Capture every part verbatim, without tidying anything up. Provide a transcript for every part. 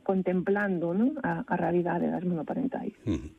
contemplando, non, a, a realidade das monoparentais. Uh-huh.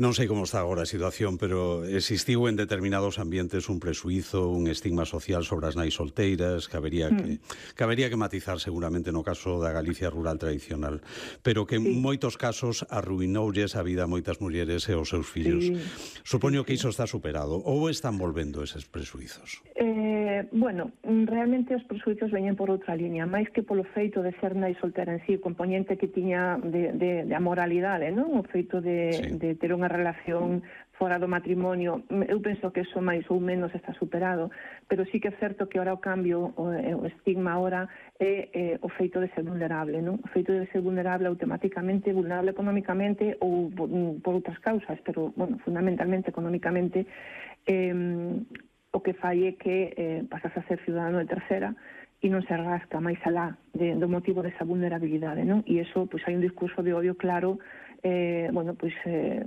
Non sei como está agora a situación, pero existiu en determinados ambientes un presuízo, un estigma social sobre as nais solteiras, que habería que, mm. que, habería que matizar seguramente no caso da Galicia rural tradicional, pero que en sí. moitos casos arruinoulles a vida a moitas mulleres e aos seus fillos. Sí. Supoño sí, que iso está superado, ou están volvendo eses presuizos? Eh, bueno, realmente os presuizos veñen por outra línea, máis que polo feito de ser nai soltera en sí, o componente que tiña de, de, de amoralidade, non? O feito de, sí. de ter unha relación fora do matrimonio, eu penso que eso máis ou menos está superado, pero sí que é certo que ora o cambio, o, o estigma ora é, é o feito de ser vulnerable, non? O feito de ser vulnerable automáticamente, vulnerable económicamente ou por, por outras causas, pero, bueno, fundamentalmente económicamente, eh, o que fai é que eh, pasas a ser ciudadano de tercera e non se rasca máis alá de, do motivo desa vulnerabilidade, non? E iso, pois, hai un discurso de odio claro, eh, bueno, pois, eh,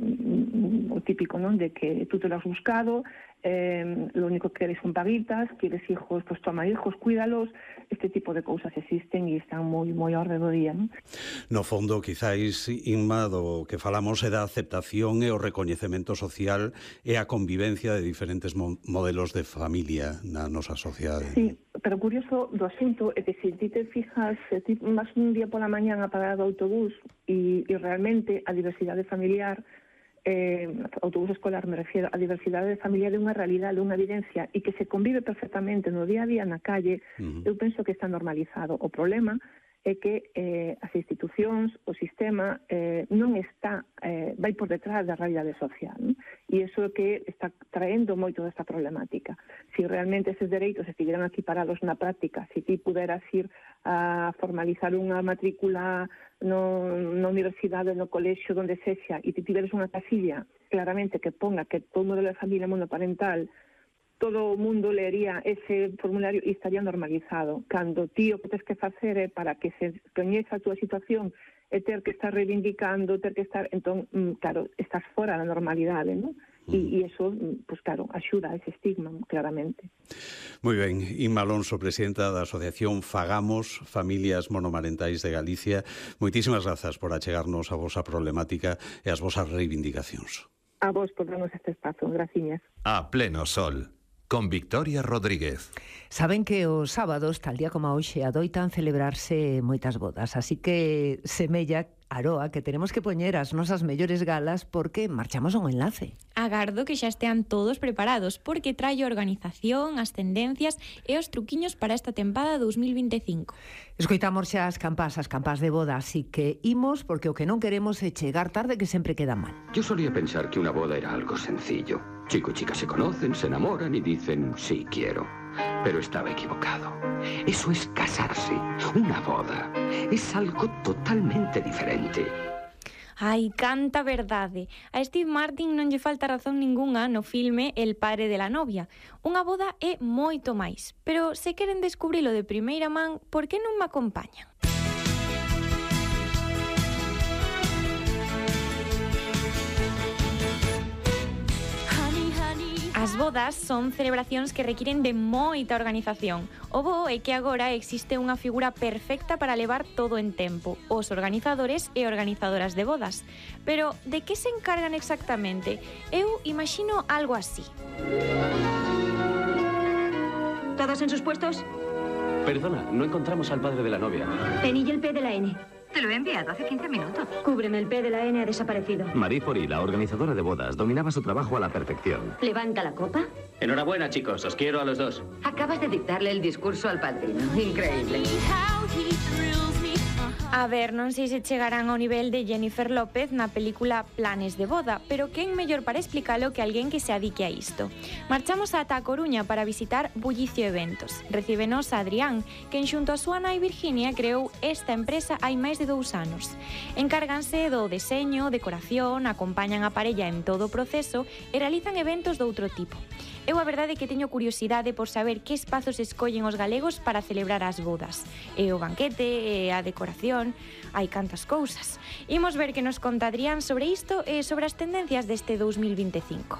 o típico, non? De que tú te lo has buscado, eh, lo único que queres son paguitas, quieres hijos, pues toma hijos, cuídalos, este tipo de cousas existen e están moi moi ao redor do día, non? No fondo, quizáis, Inma, do que falamos é da aceptación e o recoñecemento social e a convivencia de diferentes mo modelos de familia na nosa sociedade. Sí, pero curioso do asunto é que se ti te fijas, se ti vas un día pola mañán a parar do autobús e, e realmente a diversidade familiar, eh, autobús escolar me refiero, a diversidade familiar é unha realidade, unha evidencia e que se convive perfectamente no día a día na calle, uh-huh. eu penso que está normalizado. O problema é que eh, as institucións, o sistema eh, non está, eh, vai por detrás da realidade social, non? E iso é que está traendo moito desta problemática. Si realmente eses dereitos estiveran aquí parados na práctica, se ti puderas ir a formalizar unha matrícula no, na universidade, no colexio, donde sexa, e ti tiveres unha casilla claramente que ponga que todo modelo de familia monoparental, todo o mundo leería ese formulario e estaría normalizado. Cando ti o que tens que facer é para que se coñeza a túa situación e ter que estar reivindicando, ter que estar... Entón, claro, estás fora da normalidade, non? E, e iso, pues claro, axuda a ese estigma, claramente. Moi ben, Inma Alonso, presidenta da Asociación Fagamos, Familias Monomarentais de Galicia, moitísimas grazas por achegarnos a vosa problemática e as vosas reivindicacións. A vos por darnos este espazo, graciñas. A pleno sol, con Victoria Rodríguez. Saben que os sábados, tal día como hoxe, adoitan celebrarse moitas bodas, así que semella, Aroa, que tenemos que poñer as nosas mellores galas porque marchamos a un enlace. Agardo que xa estean todos preparados porque trae a organización, as tendencias e os truquiños para esta tempada dous mil vinte e cinco. Escoitamos xa as campás, as campás de boda, así que imos porque o que non queremos é chegar tarde, que sempre queda mal. Yo solía pensar que una boda era algo sencillo. Chico y chica se conocen, se enamoran y dicen sí quiero. Pero estaba equivocado. Eso es casarse. Una boda es algo totalmente diferente. Ai, canta verdade. A Steve Martin non lle falta razón ningunha no filme El padre de la novia. Unha boda é moito máis. Pero se queren descubrilo de primeira man, por que non me acompañan? As bodas son celebracións que requiren de moita organización. O bo é que agora existe unha figura perfecta para levar todo en tempo, os organizadores e organizadoras de bodas. Pero de que se encargan exactamente? Eu imagino algo así. ¿Todos en sus puestos? Perdona, no encontramos al padre de la novia. Pen y el P de la N. Te lo he enviado hace quince minutos. Cúbreme, el P de la N ha desaparecido. Marie Fori, la organizadora de bodas, dominaba su trabajo a la perfección. ¿Levanta la copa? Enhorabuena, chicos, os quiero a los dos. Acabas de dictarle el discurso al padrino. Increíble. A ver, non sei se chegarán ao nivel de Jennifer López na película Planes de boda, pero quen mellor para explicalo que alguén que se adique a isto. Marchamos ata a Coruña para visitar Bullicio Eventos. Recíbenos a Adrián, quen xunto a súa nai Virginia creou esta empresa hai máis de dous anos. Encárganse do deseño, decoración, acompañan a parella en todo o proceso e realizan eventos doutro tipo. Eu a verdade é que teño curiosidade por saber que espazos escollen os galegos para celebrar as bodas. E o banquete, e a decoración, hai cantas cousas. Imos ver que nos conta Adrián sobre isto e sobre as tendencias deste dous mil vinte e cinco.